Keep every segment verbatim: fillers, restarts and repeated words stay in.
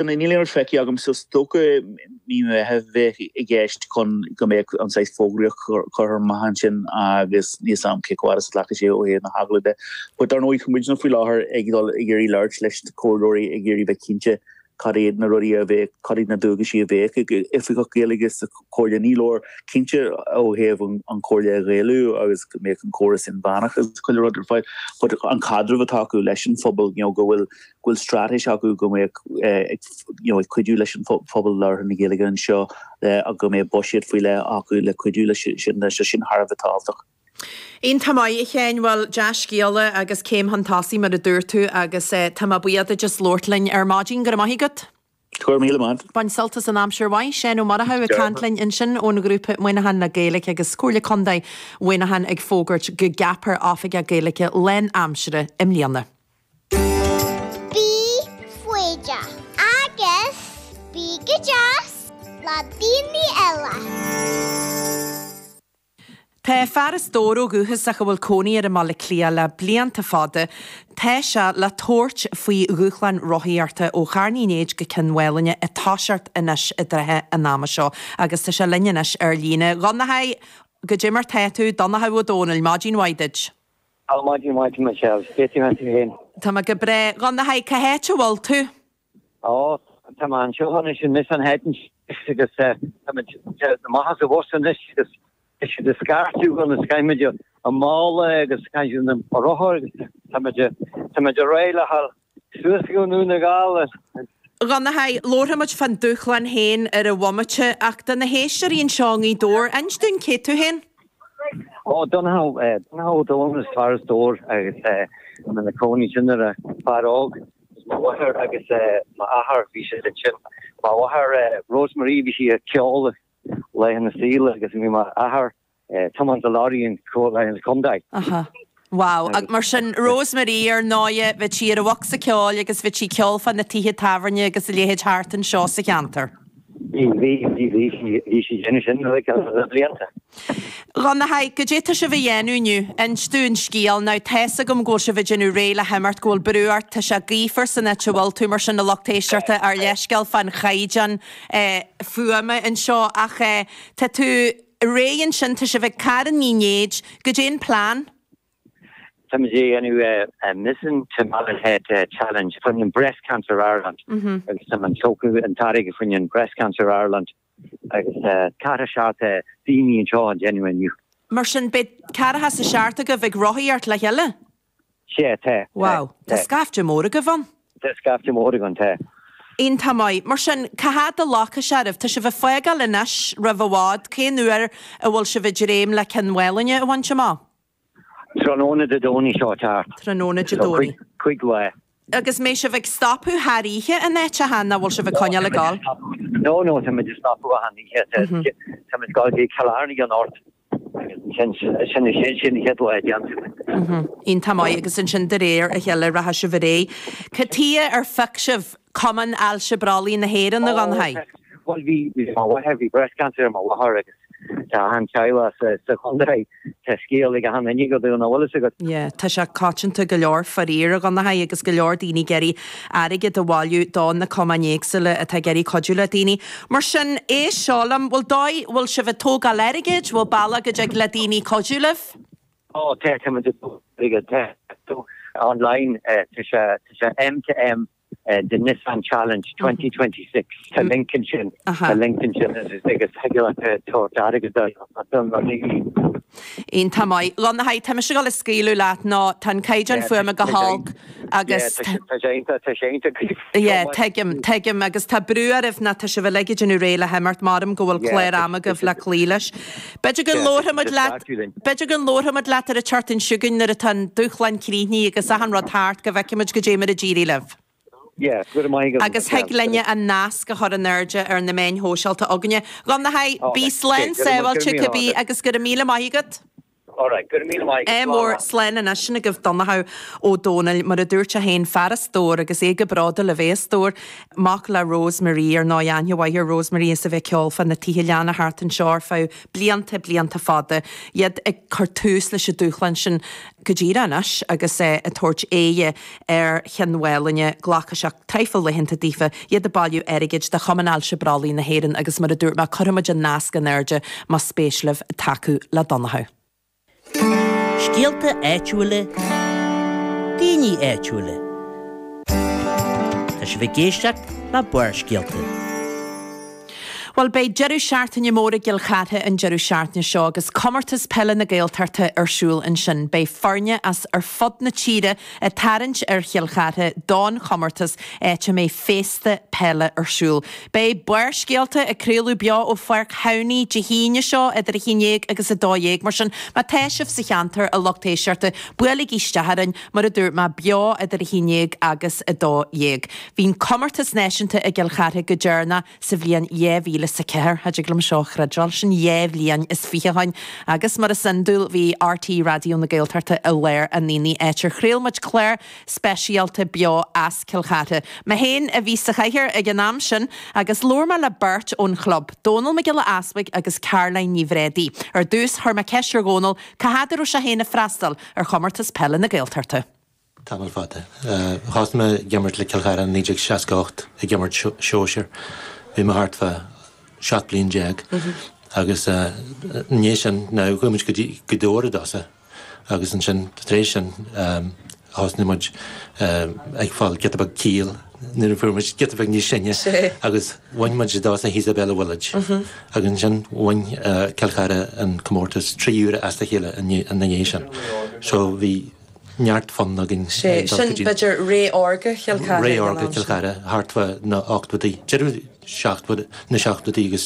Níl aon rud feicthe agam so is dócha mí Mheithimh bheith i gceist chun go mbeadh an saghas fógraíocht curtha amach ansin agus níl 'fhios a'm cé chomh fada is a ghlacfaidh sé ó thaobh na hagallaimh de. But dar ndóigh tá muidne faoi láthair ag dul ag iarraidh labhairt leis na comhairleoirí ag iarraidh bheith cinnte cad iad na rudaí a bheadh, cad iad na dualgaisí a bheadh ag oifigeach Gaeilge sa chomhairle. Ní leor cinnte ó thaobh an chomhairle a Ghaelú agus go mbeadh an córas inmheánach agus chuile rud ar fáil, but an caidreamh atá acu leis an phobal, you know, go bhfuil go bhfuil straitéis acu go mbeadh you know, ag cuidiú leis an phobal labhartha na Gaeilge anseo uh, go mbeadh buiséad faoi leith acu le cuidiú leis sin leis sin thar a bheith tábhachtach. Iontach maith a Sheáin bhuel dea-scéala agus céim chun tosaigh mar a dúirt tú agus eh, tá mé buíoch duit as labhairt linn ar maidin go raibh maith agat. Go raibh míle maith. Bain sult as an aimsir mhaith Seán Ó Murchú ag caint linn ansin ón ghrúpa Muineachán le Gaeilge agus Comhairle Contae Mhuineacháin ag fógairt go gceapfar oifigeach Gaeilge lánaimseartha i mbliana. Bí foighdeach agus bí go deas le daoine eile. Tá fear as Dobhar ó dhúchas ach a bhfuil cónaí air i mBaile Átha Cliath le blianta fada, tá sé le tabhairt faoi dhúshlán rothaíochta ó Charn Uí Néid go Cionn Mhálanna ag toiseacht anois i dtrátha an ama seo, agus tá sé linn anois ar líne. Dhonncha goidé mar tá tú Donncha Ó Dónaill, maidin mhaith duit. Á maidin mhaith Michelle, cé tú tú féin. Tá mé go breá Dhonncha cá háit a bhfuil tú? Á tá mé anseo anois in Nissan Head agus amach as an bhus anois agus is de scairú an scaimide a mála agus na rothar agus tá muid réidh le suas go Dún na nGall. Dhonncha labharfaimid fán dúshlán féin ar an bhomaite ach do na héisteoirí anseo i nGaoth Dobhair, inis dúinn cé tú féin? Ó Donncha Ó Dónaill is fear as Dobhar agus na cónaí sin ar a fear óg mo mháthair agus m'athair bhí siad ansin. Mo mháthair Rosemary bhí sí ag ceol le na saoil agus bhí m'athair tiomáint an lorry an contae. Aha. Wow, ag mar sin Rosemary ar ndóigh bhí sí ar a bhocsa ceoil agus bhí sí ag ceol fá na tithe tábhairne agus a leithéid thart anseo sa cheantar. Bhí bhí bhí bhí sí sin sin le blianta. Dhonncha goidé tá sibh a dhéanamh inniu, inis dúinn an scéal now tá 'fhios agam go bhfuil sibh ag déanamh réidh le himeacht go bhfuil brú ort tá sé gaofar san áit a bhfuil tú mar sin a lucht éisteachta ár leithscéal fán chaighdeán eh, fuaime anseo ach eh, tá tú réidh ansin tá sibh ag Carn Uí Néid, goidé an plean? Tá muid ag déanamh Mizen to Malin Head Challenge fá Breast Cancer Ireland agus tá an tógadh an t-airgead fá Breast Cancer Ireland agus ceathracha seacht daoine anseo ag déanamh inniu. Mar sin beidh ceathracha a seacht agaibh ag rothaíocht le chéile? Sé tá. Wow, Tá scaifte mór agaibh ann? Tá scaifte mór againn tá. Iontach maith. Mar sin cá fhad a ghlacfaidh sé oraibh, Tá sibh ag fágáil anois roimh i bhfad, cén uair a bhfuil sibh ag dréim le Cionn Mhálanna a bhaint amach? Tráthnóna Dé Domhnaigh seo teacht. Tráthnóna Dé Domhnaigh. Cúig lá. Agus mbeidh sibh ag stopadh thar oíche in áiteacha nach bhfuil sibh ag coinneáil ag gabháil? No no tá muid ag stopadh achan oíche tá muid ag dul Killarney anocht sin sin sin chéad lá déanta. Iontach maith agus ansin de réir a chéile rachaidh sibh ar aghaidh. Cad chuige ar phioc sibh Cumann Ailse Brollaigh na hÉireann a Dhonncha? Well bhí bhí mháthair bhí breast cancer ar mo mháthair agus tá an teaghlach sa sa chontae tá scéal ag an duine go dún bhfuil agat. Yeah, tá sé coitianta go leor faraor a Dhonncha agus go leor daoine ag iarraidh airgead a bhailiú do na cumainn éagsúla atá ag iarraidh cuidiú le daoine. Mar sin é seo liom, bhfuil dóigh bhfuil sibh ag tógáil airgid, bhfuil bealach go dtig le daoine cuidiú libh? Ó tá tá online tá sé tá sé M to M uh, the Nissan Challenge twenty twenty six Tá link ansin Tá link ansin agus thig leat tabhairt airgead Iontach maith. Dhonncha tá mise ag dul a scaoileadh leat nó tá an caighdeán fuaime go holc agus Tá sé Yeah, tuigim, tuigim agus tá brú oraibh ná tá sibh uilig ag déanamh réidh le himeacht maram go bhfuil clár ama agaibh le cloí leis. B'fhéidir go labharfaimid leat B'fhéidir go labharfaimid leat ar an tseachtain seo chugainn nuair atá an dúshlán críochnaithe agus achan rud thart go bhfeicfimid goidé mar a d'éirigh libh. Yeah, go maith Agus thig linne an nasc a chur in airde ar na meáin shóisialta againne. Dhonncha bí slán sábháilte cibé agus go raibh míle maith agat. Alright, go raibh míle maith Ádh mór slán anois sin agaibh Donnchadh Ó Dónaill mar a dúirt sé féin fear as Dobhar agus é go bródúil a bheith as Dobhar, mac le Rose Marie ar ndóigh aithne mhaith ar Rose Marie is a bheith ag ceol fá na tithe leanna thart anseo ar feadh blianta blianta fada, iad ag cur tús leis an dúshlán sin go díreach anois agus é ag tabhairt aghaidh ar Chionn Mhálanna, glacfaidh sé traidhfil laethanta daofa, iad ag bailiú airgid do Chumann Ailse Brollaigh na hÉireann agus mar a dúirt mé cuirfimid an nasc in airde más spéis libh tacú le Donnchadh. Scéalta áitiúla, daoine áitiúla. Tá sibh ag éisteacht le Barrscéalta. Bhuel beidh deireadh seachtaine mór i gCill Chartha an deireadh seachtaine seo agus comórtas peile na Gaeltachta ar siúl ansin. Beidh foirne as ar fud na tíre ag tarraingt ar Chill Chartha don chomórtas áit a mbeidh féasta peile ar siúl. Beidh Barrscéalta ag craoladh beo ó Pháirc Thamhnaigh Dé hAoine seo idir a haon déag agus a dó dhéag mar sin má tá sibh sa cheantar a lucht éisteachta buailigí isteach orainn mar a dúirt mé beo idir a haon déag agus a dó dhéag. Bhí an comórtas náisiúnta i gCill Chartha go deireanach sa bhliain dhá mhíle is a ceathair cha dtig liom seo a chreidbheáil sin dhá bhliain is fiche ó shin agus mar is iondúil bhí RTÉ Raidió na Gaeltachta i lár an aonaigh áit ar chraol muid clár speisialta beo as Cill Chartha. Mé féin a bhí sa chathaoir ag an am sin agus labhair mé le beirt ón chlub, Dónal Mac Giolla Easpaig agus Caroline Ní Bhréadaí. Ar dtús chuir mé ceist ar Dhónal cá fhad a raibh sé féin ag freastal ar chomórtas peile na Gaeltachta. Tamall fada. Thosaigh mé ag imirt le Cill Chartha naoi déag seasca ocht ag imirt sóisir. Bhí mé thart fá seacht bliain déag agus i ndiaidh sin now chuaigh muid go dtí go Dobhar i dtosach agus ansin tar éis sin thosnaigh muid ag fáil giota beag ciall nuair a fuair muid giota beag níos sine agus bhain muid i dtosach thíos i Bella Village agus ansin bhain Cill Chartha an comórtas trí huaire as a chéile ina dhiaidh sin. So bhí neart fonn againn Sé dul sin go dtí b'fhéidir ré órga Chill Chartha Ré ag an órga am Chill sin. Chartha thart fá na ochtóidí, deireadh seacht na seachtóidí agus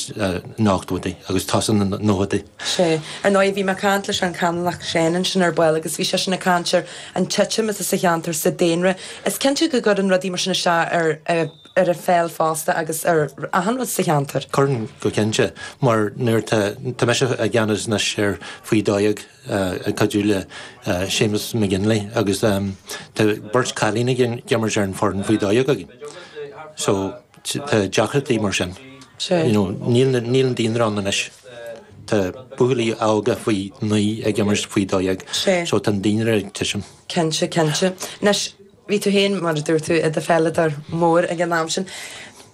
na hochtóidí agus tosach na nóchaidí. Sé. Ar ndóigh bhí mé ag caint leis an Canónach Seán ansin ar ball agus bhí seisean ag caint ar an titim atá sa cheantar sa daonra. Is cinnte go gcuireann rudaí mar sin isteach ar ar an pheil fosta agus ar achan rud sa cheantar. Cuireann go cinnte mar nuair tá tá mise i gceannas anois ar faoi dó dhéag ag cuidiú le Séamus McGinley agus tá beirt cailín ag imirt ar an foireann faoi dó dhéag againn. So tá deacrachtaí mar sin. Sé. You know, níl níl an daonra ann anois. Tá buachaillí óga faoi naoi ag imirt faoi dó dhéag. Sé. So tá an daonra ag titim. Cinnte, cinnte. Anois bhí tú féin mar a dúirt tú i do pheileadóir mór ag an am sin.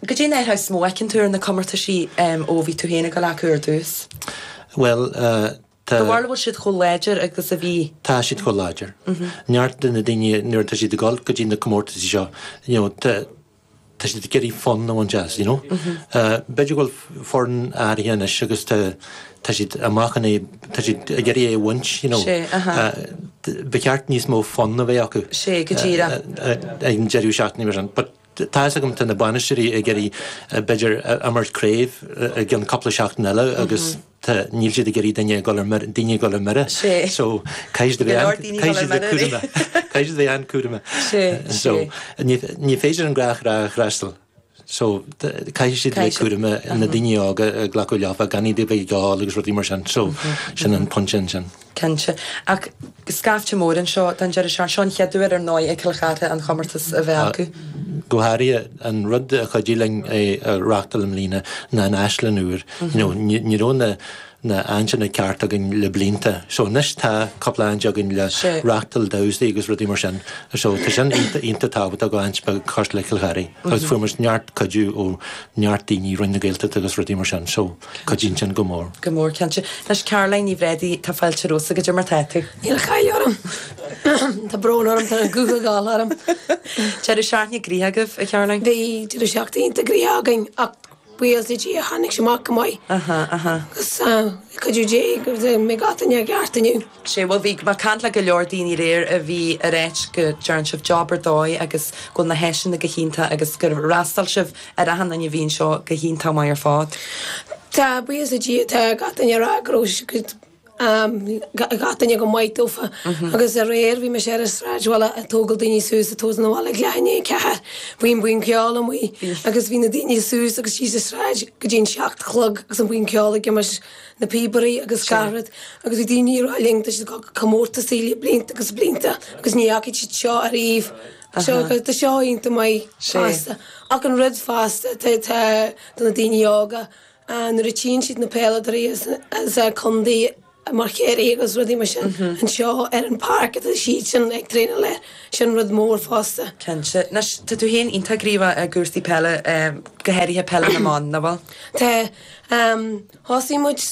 Goidé an athrú is mó a fheiceann tú ar na comórtaisí ó bhí tú féin ag dul acu ar dtús? Well, uh, tá Do bharúil bhfuil siad chomh láidir agus a bhí? Tá siad chomh láidir. Neart de na daoine nuair atá siad ag dul go dtí na comórtaisí seo, you know, tá tá siad ag iarraidh fonn a bhaint as, you know. Uh, B'fhéidir go bhfuil foireann áirithe anois agus tá tá siad amach an é tá siad ag iarraidh é a bhaint, you know. Sé, aha. Uh, ba cheart níos mó fonn a bheith acu. Sé, go díreach. Uh, uh, ag an deireadh seachtaine mar sin. But tá a fhios agam tá na bainisteoirí ag iarraidh b'fhéidir imirt craobh i gceann cúpla seachtain eile agus tá níl siad ag iarraidh duine ag dul ar mire daoine ag dul ar mire. Sé. So caithfidh siad a Go bheith leor an- daoine ag caithfidh dul siad a ar bheith mire. cúramach. Caithfidh siad a bheith an-chúramach. Sé, So sé. ní ní féidir an ghnáthrá a fhreastal. So caithfidh siad bheith Caithfidh siad- cúramach na daoine óga ag glacadh leofa gan iad a bheith ag ól agus rudaí mar sin. So sin an pointe ansin. Cinnte. Ach scaifte mór anseo don deireadh seachtaine seo an chéad uair ar ndóigh ag Cill Chartha an chomórtas a bheith acu. Go háirithe an rud a chuidigh linn é a reáchtáil i mbliana ná an áislann úr. You know, ní ní raibh na na háiseanna ceart againn le blianta. So anois tá cúpla áit againn le Sé. reáchtáil damhsaí agus rudaí mar sin. So tá sin iontach iontach tábhachtach go áit beag cosúil le Cill Chartha. Agus fuair muid neart cuidiú ó neart daoine Roinn na Gaeltachta agus rudaí mar sin. So cuidíonn sin go mór. Go mór cinnte. Anois Caroline Ní Bhréadaí tá fáilte romhat goidé mar tá tú. Níl caill orm. Tá brón orm tá an guth ag gabháil orm. Deireadh seachtaine gnoitheach agaibh a Caroline? Bhí deireadh seachtaine iontach gnoitheach againn ach buíochas le Dia tháinig sé amach go maith. Aha, aha. Agus cuidiú Dé go mbeidh gach duine ceart inniu. Sé bhuel bhí mé ag caint le go leor daoine aréir a bhí ag ráit go ndearna sibh job ar dóigh agus go bhfuil na háiseanna go hiontach agus gur fhreastail sibh ar achan duine a bhí anseo go hiontach maith ar fad. Tá buíochas le Dia tá gach duine ag rá go raibh Gach duine go maith dófa agus aréir bhí mise ar an sráidbhaile ag tógáil daoine suas ag tabhairt na bhaile ag leath i ndiaidh a ceathair. Bhí an buíon ceoil amuigh agus bhí na daoine suas agus síos an sráid go dtí an seacht a chlog agus an buíon ceoil ag imirt na píobairí agus gach rud agus bhí daoine ag rá linn tá siad ag dul go comórtasaí le blianta agus blianta agus ní fhacaidh siad seo ariamh. Seo tá seo iontach maith fosta. Ach an rud fosta tá tá do na daoine óga Nuair a tchíonn siad na peileadóirí as an contae mar Chiarraí agus rudaí mar sin anseo ar an páirc atá siadsan ag traenáil air, sin rud mór fosta. Cinnte. Anois, tá tú féin iontach gníomhach i gcúrsaí peile, go háirithe peile na mban, nach bhfuil? Tá. Thosaigh muid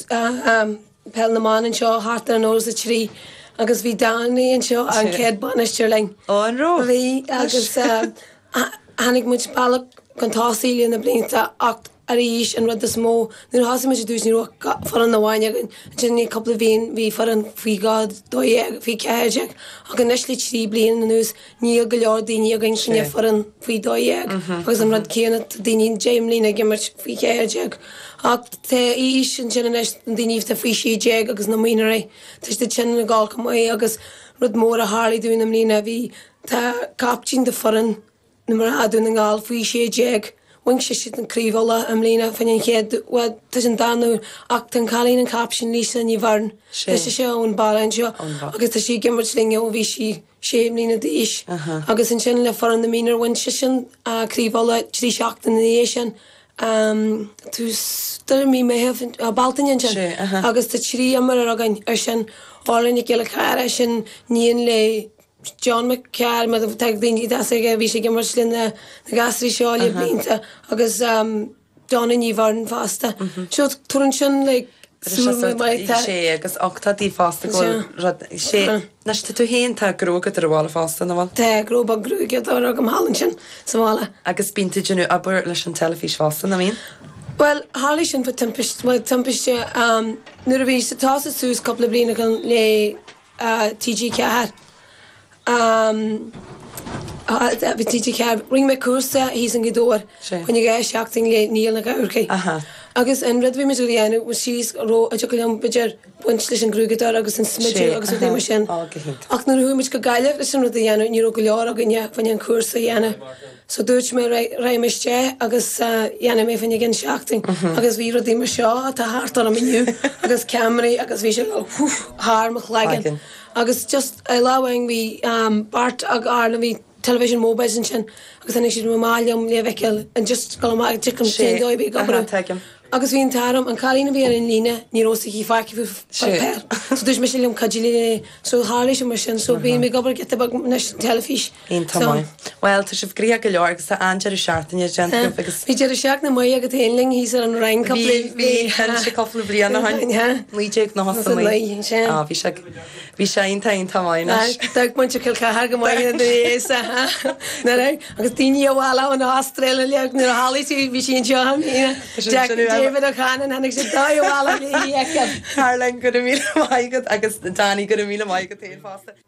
peil na mban anseo thart ar an nócha a trí agus bhí Danny anseo an chéad bainisteoir linn. Ó, an raibh? Bhí agus tháinig muid bealach chun tosaigh le na blianta ach arís an rud is mó, nuair a thosaigh muid i dtús ní raibh ach foireann amháin againn, ansin i ndiaidh cúpla bhliain bhí foireann faoi dhá dó dhéag, faoi ceathair déag ach anois le trí bliana anuas níl go leor daoine againn sin foireann faoi dó dhéag agus an rud céanna tá daoine deich mbliana ag imirt faoi cheathair déag ach tá aois ansin anois na daoine atá faoi sé déag agus na mionúirí tá siad sin ag dul chomh maith agus rud mór a tharlaigh dúinn i mbliana bhí tá captaen de foireann na mná Dún na nGall faoi sé déag. Bhain sise an Craobh Uladh i mbliana fá choinne an chéad, bhuel, tá sé an darna huair, ach tá an cailín an captaen Lisa Ní Bheirn, tá sise ón baile anseo agus tá sí ag imirt linn ó bhí sí sé mbliana d'aois. Agus ansin le foireann na mionúr bhain sise an Craobh Uladh trí seachtaine ina dhiaidh sin, tús deireadh mí Meitheamh, Bealtaine ansin agus tá trí imreoir againn ar sin, Orla Nic Giolla Chearra, sin níon le John Mac Cearra, mar tá daoine deas aige, bhí sé ag imirt le na gasraí seo le blianta agus Donna Ní Bheirn fosta. So tugann sin like súil maith tá. Sé agus ach tá daoibh fosta go bhfuil rud sé anois tá tú féin tá gruaigeadóir ar bhaile fosta nach bhfuil? Tá gnó beag gruaigeadóra agam thall ansin sa bhaile. Agus bíonn tú ag déanamh obair leis an teilifís fosta nach mbíonn? Bhuel tharlaigh sin fa timpist, bhuel timpiste nuair a bhí sa tosadh suas cúpla bliain ó shin le T G ceathair. Bhí T G ceathair. Rinne mé cúrsa thíos i nGaoth Dobhair fá choinne dhá sheachtain le Niall Mac Eachmharcaigh. Agus an rud a bhí muid a dhéanamh was síos raibh a dtiocfadh liom b'fhéidir baint leis an gruaigeadóir agus an smideadh agus rudaí mar sin. Ach nuair a chuaigh muid go Gaillimh leis an rud a dhéanamh ní raibh go leor againne fá choinne an cúrsa a dhéanamh. So dúirt mé raghaidh mé isteach agus dhéanfaidh mé fá choinne ceann seachtain. Agus bhí rudaí mar seo atá thart orm inniu agus ceamaraí agus bhí sé ag dul whoosh thar mo chloigeann. Agus just lá amháin bhí beirt ag Ireland bhí television mobiles ansin agus tháinig siad amach liom le feiceáil and just dul amach ag an cén dóigh a bhí ag obair. Agus bhí an t-ádh orm, an cailín a bhí ar an líne ní raibh fhios aici faic faoi pháipéar. So dúirt mise liom cuidigh léi. So tharlaigh sé mar sin. So bím ag obair giota beag anois san teilifís. Iontach maith. Bhuel tá sibh gnoitheach go leor agus tá an-deireadh seachtaine déanta agaibh agus. Bhí deireadh seachtaine maith agat féin linn thíos ar an Rinn cúpla. Bhí, bhí, cinnte cúpla bliain ó shin. Naoi déag nócha a naoi. Á bhí sé Bhí sé iontach iontach maith anois. D'amharc muintir Chill Chartha go maith ina dhiaidh sa nuair agus daoine abhaile ón Astráil uilig nuair a tharlaigh sí bhí sí anseo i mbliana. Jack David O'Cannon tháinig sé dóibh abhaile léi a fheiceáil. Caroline, go raibh míle maith agat agus Danny, go raibh míle maith agat féin fosta.